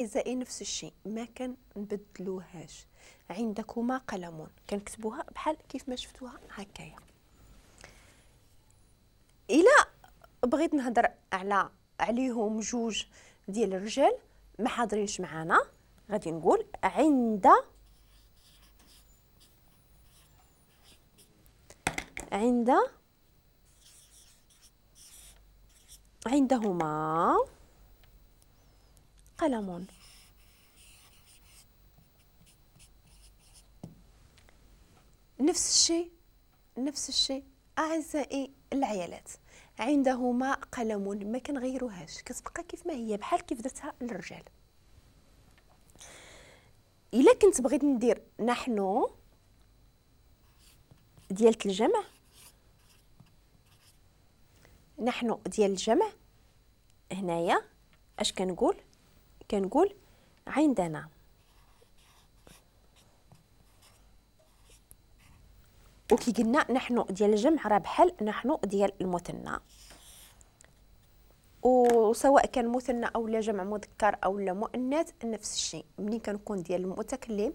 أعزائي نفس الشيء ما كنبدلوهاش، عندكما قلم كنكتبوها بحال كيف ما شفتوها هكايا. إلا بغيت نهضر على عليهم جوج ديال الرجال ما حاضرينش معانا، غادي نقول عند عند عندهما قلم. نفس الشيء نفس الشيء أعزائي العيالات، عندهما قلم ما كنغيروهاش، كتبقى كيف ما هي بحال كيف درتها للرجال. إلا كنت بغيت ندير نحن ديال الجمع، نحن ديال الجمع هنايا اش كنقول؟ كنقول عندنا. وكي قلنا نحن ديال الجمع راه بحال نحن ديال المثنى، وسواء كان مثنى او لا جمع مذكر او لا مؤنث نفس الشيء. ملي كنكون ديال المتكلم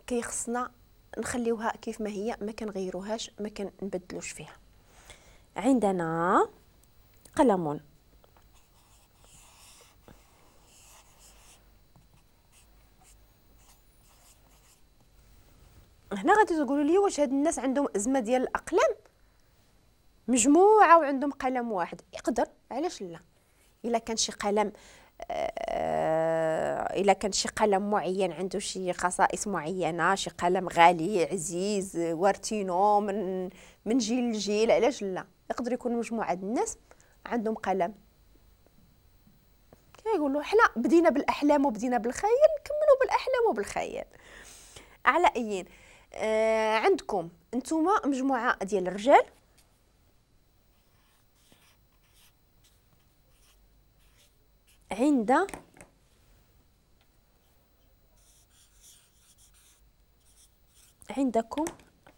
كيخصنا نخليوها كيف ما هي، ما كنغيروهاش ما كنبدلوش فيها. عندنا قلم. هنا غادي تقولوا لي واش هاد الناس عندهم ازمة ديال الاقلام، مجموعة وعندهم قلم واحد؟ يقدر، علاش لا؟ الا كان شي قلم الا كان شي قلم معين عنده شي خصائص معينة، شي قلم غالي عزيز وارتينو من جيل لجيل، علاش لا؟ يقدر يكون مجموعة الناس عندهم قلم. كيقولوا حنا بدينا بالاحلام وبدينا بالخيال، نكملوا بالاحلام وبالخيال. على ايين عندكم نتوما مجموعة ديال الرجال، عند عندكم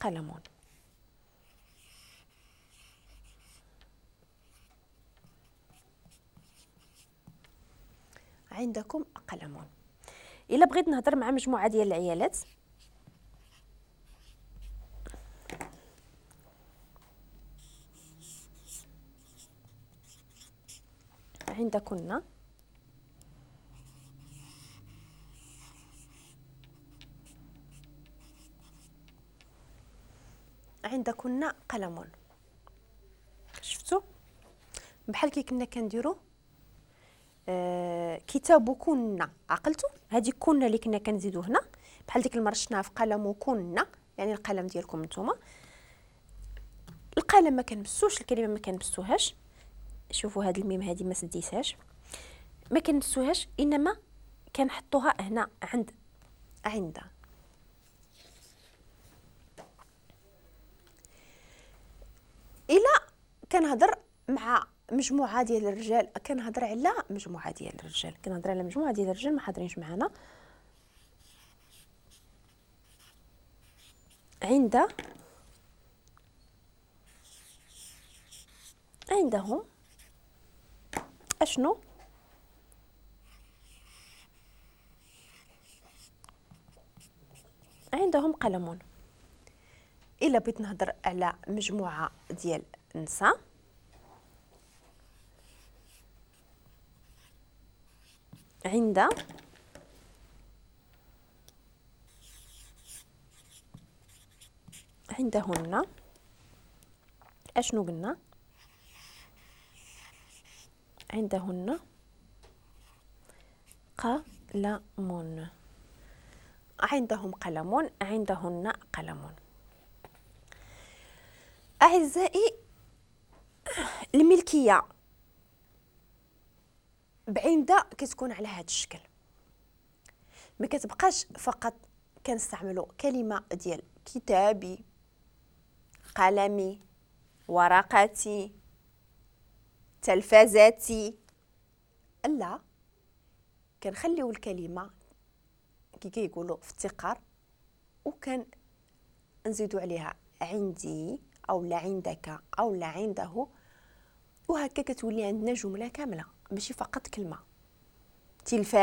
قلم. عندكم قلم. الا بغيت نهضر مع مجموعة ديال العيالات، عندكن عندكن قلم. شفتوا بحال كي كنا كنديروا كتابكن، عقلتوا هذه كنا اللي كنا كنزيدو هنا بحال ديك المرة شفناها في قلمكن، يعني القلم ديالكم نتوما. القلم ما كنمسوش، الكلمة ما كنمسوهاش. شوفوا هاد الميم هادي ما سديتهاش، ما كنمسوهاش، انما كنحطوها هنا عند عند. الا كنهضر مع مجموعة ديال الرجال، كنهضر على مجموعة ديال الرجال، كنهضر على مجموعة ديال الرجال ما حاضرينش معنا، عند عندهم اشنو؟ عندهم قلم. الا بغيت نهضر على مجموعة ديال النساء، عند عندهن اشنو قلنا؟ عندهن قلم. عندهم قلم، عندهن قلم. أعزائي الملكية بعند كتكون على هذا الشكل، ما كتبقاش فقط كنستعملوا كلمة ديال كتابي، قلمي، ورقتي، تلفزتي، لا، كنخليو الكلمة كي كيقولوا في التقار وكان نزيدو عليها عندي او لا عندك او لا عنده، وهكا كتولي عندنا جملة كاملة ماشي فقط كلمة. تلفاز.